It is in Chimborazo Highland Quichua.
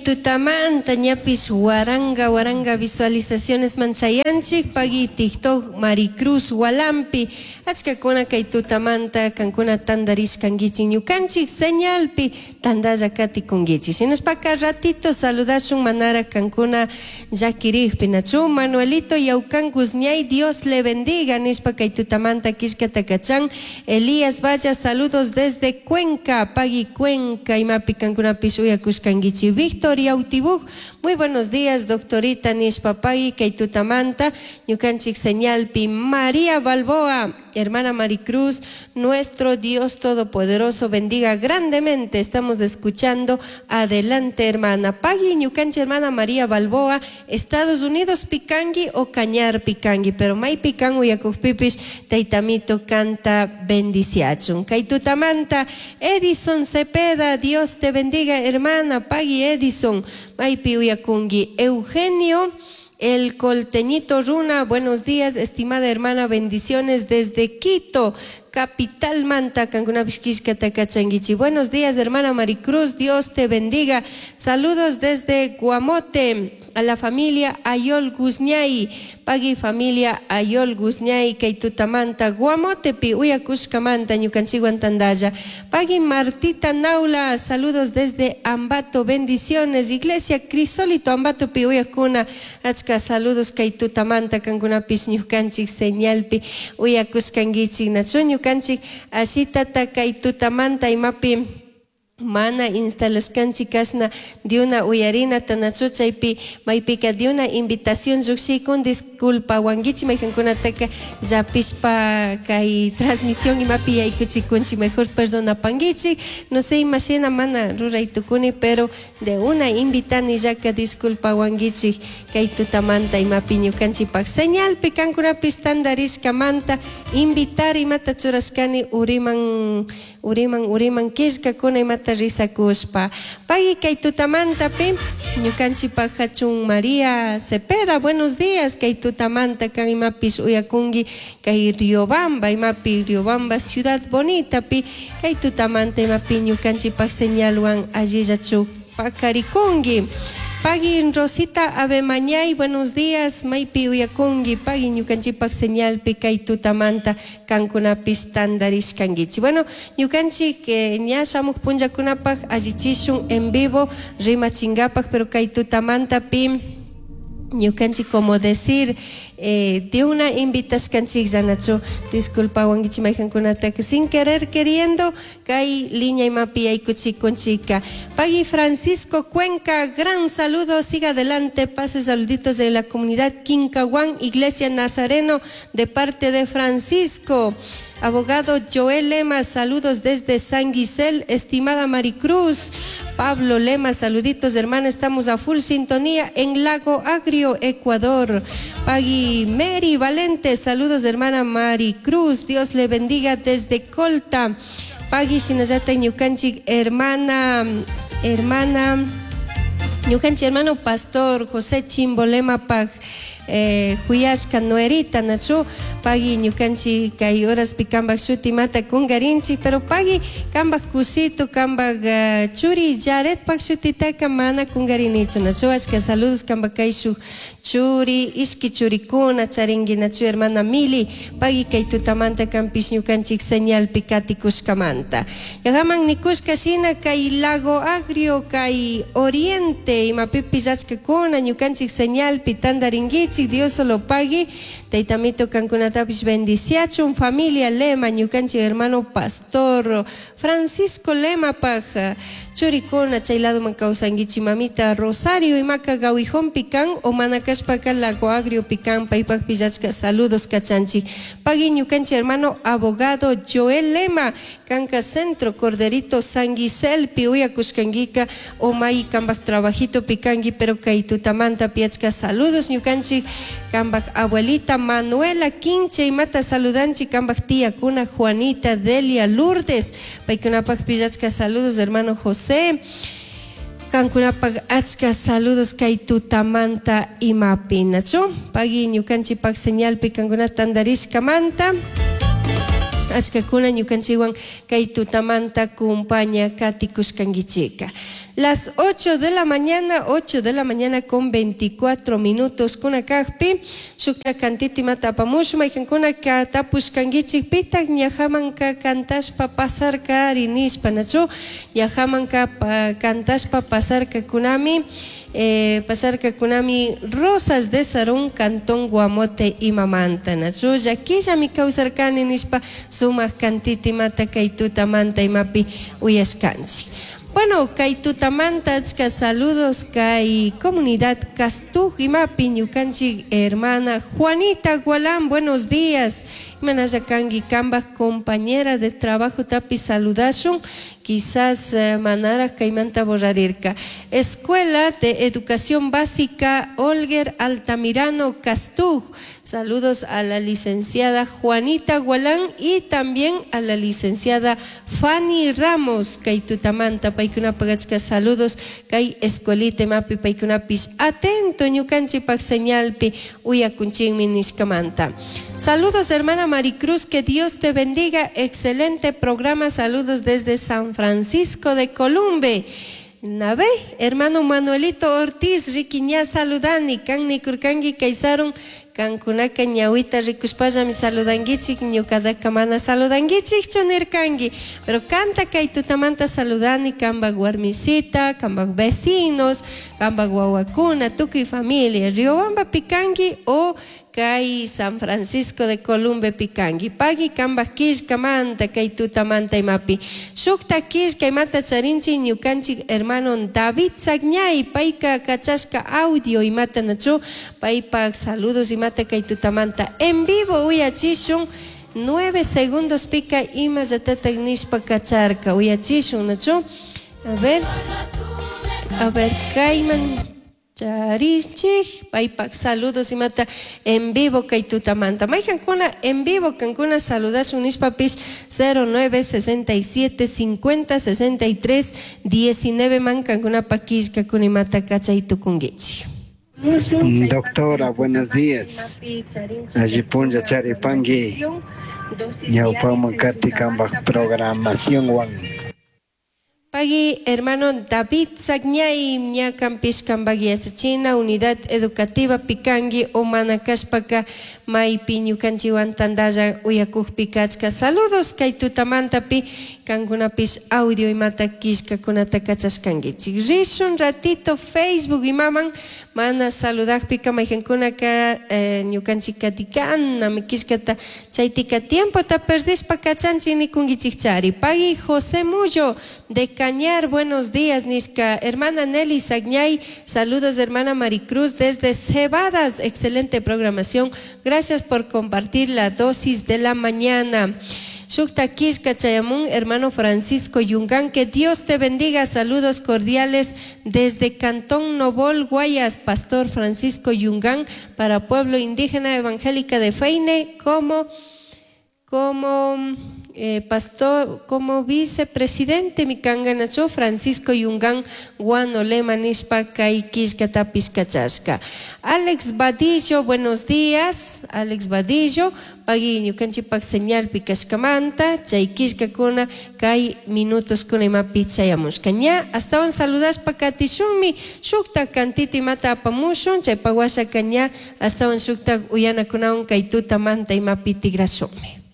tutamanta ñapish waranga waranga visualizacionesman chayanchik. Pagui TikTok Maricruz Walampi. Achkakuna kay tutamanta kankuna tandarishkankichik ñukanchik señalpi tandalla katikunkichik. Shinashpaka ratito saludashun manara kankuna llakirikpi nachu Manuelito Yaucan Guzñay Dios le bendiga nishpa kay tutamanta killkata kachan. Elías Valla saludos desde Cuenca, pagui Cuenca imapi kankunapish uyakushkankichik. Víctor Yautibuj, muy buenos días doctorita nishpa pagui kay tutamanta ñukanchik señalpi. María Balboa, hermana Maricruz, nuestro Dios Todopoderoso bendiga grandemente. Estamos escuchando. Adelante, hermana. Pagui ñukanchik hermana María Balboa, Estados Unidos pikanki o Cañar pikanki, pero may pikan uyakukpipish taytamito kanta bendiciachun. Kay tutamanta Edison Cepeda, Dios te bendiga, hermana. Pagui Edison, maypi uyakunki. Eugenio El Colteñito Runa, buenos días, estimada hermana, bendiciones desde Quito, capital Manta, kankunapish killkata kachankichik. Buenos días, hermana Maricruz, Dios te bendiga. Saludos desde Guamote, a la familia Ayol Guzñay, pagui familia Ayol Guzñay, kay tutamanta, Guamotepi, uyakushkamanta, ñukanchikwan tandalla. Pagui Martita Naula, saludos desde Ambato, bendiciones, Iglesia Crisólito Ambatopi, uyakuna, achka saludos kay tutamanta, kankunapish ñukanchik señalpi, uyakushkankichik, nachu ñukanchik, ashitata kay tutamanta imapi mana instalashkanchik kashna diuna uyarinata nachu chaypi maypika diuna invitación llukshikun disculpawankichik maykankunataka llapishpa kay transmisión imapi yaykuchikunchik mejor perdonapankichik no sé imashina mana ruray tukuni pero de una invitanillaka disculpawankichik kay tutamanta imapi ñukanchikpak señalpi kankunapis tandarishkamanta invitar imata churashkani uriman uriman uriman killkakuna imata risakushpa. Pagui kay tutamantapi ñukanchikpak hachun María Cepeda, buenos días kay tutamanta kan imapish uyakunki kay Riobamba imapi Riobamba ciudad bonitapi kay tutamanta imapi ñukanchikpak señalwan allillachu pakarikunki. Pagui Rosita Abemañay, buenos días, maypi uyakunki, pagui ñukanchikpak señalpi kay tutamanta kankunapis tandarishkankichik. Bueno, ñukanchik ña shamuq punllakunapak allichishun en vivo rimachinkapak, pero kay tutamantapi ñukanchik como decir de una invitashkanchiklla nachu disculpawankichik maykankunataka sin querer queriendo kay línea imapi yaykuchikunchika. Pagui Francisco Cuenca, gran saludo, siga adelante, pase saluditos de la comunidad Quincahuán, Iglesia Nazareno, de parte de Francisco. Abogado Joel Lema, saludos desde San Guisel, estimada Maricruz. Pablo Lema, saluditos, hermana, estamos a full sintonía en Lago Agrio, Ecuador. Pagui Mary Valente, saludos, hermana Maricruz, Dios le bendiga desde Colta. Pagui shinallata ñukanchik, hermana, hermana, ñukanchik hermano pastor José Chimbolema pag huyashka nuerita nachu pagui ñukanchik kay horaspi kambak shuti mata kungarinchik, pero pagui kambak kusito kambak churi Jaredpak shutitaka mana kungarinichu nachu achka saludos kambak kayshuk churi ishki churikuna charinki nachu hermana Mili pagui kay tutamanta kampish ñukanchik señalpi katikushkamanta. Yaqaman nikushka shina kay Lago Agrio kay Oriente imapipish achkakuna ñukanchik señalpi tandarinkichik. Dios solo pagui taytamito kankunatapish bendiciachun familia Lema ñukanchik hermano pastor Francisco Lema paj churikuna chay ladoman kawsankichik mamita Rosario imaka Gawijón pikan o mana kashpaka Lago Agrio pikan paypakpish achka saludos kachanchik. Pagui ñukanchik hermano abogado Joel Lema kanka Centro Corderito San Guiselpi uyakushkankika o may kambak trabajito pikanki pero kay tutamanta achka saludos ñukanchik kambak abuelita Manuela Quinche imata saludanchik kambak tía kuna Juanita Delia Lourdes paykunapakpish achka saludos hermano José kankunapak achka saludos kay tutamanta imapi nachu pagui ñukanchikpak señalpi kankuna tandarishkamanta. Achkakuna ñukanchikwan kay tutamanta kumpaña katikushkankichika. Las 8 de la mañana, 8 de la mañana con 24 minutos kuna kakpi, shukta kantita imata apamushun, maykankunaka tapushkankichik pitak ñajamanka cantashpa pasarka ari nishpa, nachu? Ñajamanka cantashpa pasarkakunami, pasarkakunami Rosas de Sarón, Cantón Guamote imamanta, nachu? Llaquillami kawsarkani nishpa sumak kantita imata kay tutamanta imapi uyashkanchik. Bueno, kay tutamanta achka saludos kay comunidad Castuj imapi ñukanchik hermana Juanita Gualán, buenos días. Imanalla kanki kambaj compañera de trabajo tapi saludashun, quizás manaraj kaymanta borrarirka. Escuela de Educación Básica Olger Altamirano Castuj, saludos a la licenciada Juanita Gualán y también a la licenciada Fanny Ramos, kay tutamanta paykunapak achka saludos kay escuelita imapi paykunapish atento ñukanchikpak señalpi uyakunchikmi nishkamanta. Saludos hermana Maricruz, que Dios te bendiga, excelente programa, saludos desde San Francisco de Columbe. Nabe, hermano Manuelito Ortiz, riquiña saludani, kanni kurkangi kaysarun, kankunaka ñawita rikushpallami saludanguichik, ñukadaka mana saludanguichikchu nirkangi, pero kanta kay tutamanta saludani, kambak warmisita, kambak vecinos, kambak wawakuna, tukuy familia, Riobamba pikangi o kay San Francisco de Columbe pikangi. Pagui kambak killkamanta kay tutamanta imapi. Shukta killka imata charinchi ñukanchik hermano David Sagñay, payka kachashka audio imata nachu, paypak saludos imata kay tutamanta en vivo uyachishun. 9 segundos pika ima llatatak nishpa kacharka uyachishun nachu. A ver, a ver, kayman charinchik paypak saludos imata en vivo kay tutamanta. Maykankuna en vivo kankuna saludashun nishpapish 09 67 50 63 19 man kankunapak killkakuna imata kachay tukunkichik. Doctora, buenos días. Allí punlla charipangui. Ñawpaman kati kambaj programación wan. Pagui, hermano David Sagñay, ñakampish kambaj yachachina, unidad educativa Picangi, o manakashpaka, maypi ñukanchiwan tandalla uyakukpi kachka. Saludos kay tutamantapi, kankunapish audio imata killkakunata kachashkankichik. Rishun ratito Facebook imaman, mana saludakpika maykankunaka, ñukanchik katikana, killkata chaytika tiempota perdishpa kachanchik nikunkichikchari. Pagui José Mullo de Cañar, buenos días, nishka. Hermana Nelly Sagñay, saludos hermana Maricruz desde Cebadas, excelente programación, gracias por compartir la dosis de la mañana. Shukta killka chayamun, hermano Francisco Yungán, que Dios te bendiga, saludos cordiales desde Cantón Nobol, Guayas, Pastor Francisco Yungán, para Pueblo Indígena Evangélica de Feine, como pastor, como vicepresidente mikanganachu Francisco Yungán Guanolema nishpa kay killkatapish kachashka. Alex Vadillo, buenos días. Alex Vadillo, pagui ñukanchikpak señalpi kashkamanta, chay killkakuna kay minutos kuna imapi chayamushka. Ña, astawan saludashpa katishunmi, shukta kantita imata apamushun, chaypak washaka ña, astawan shukta uyanakunawan kay tutamanta imapi tigrashunmi.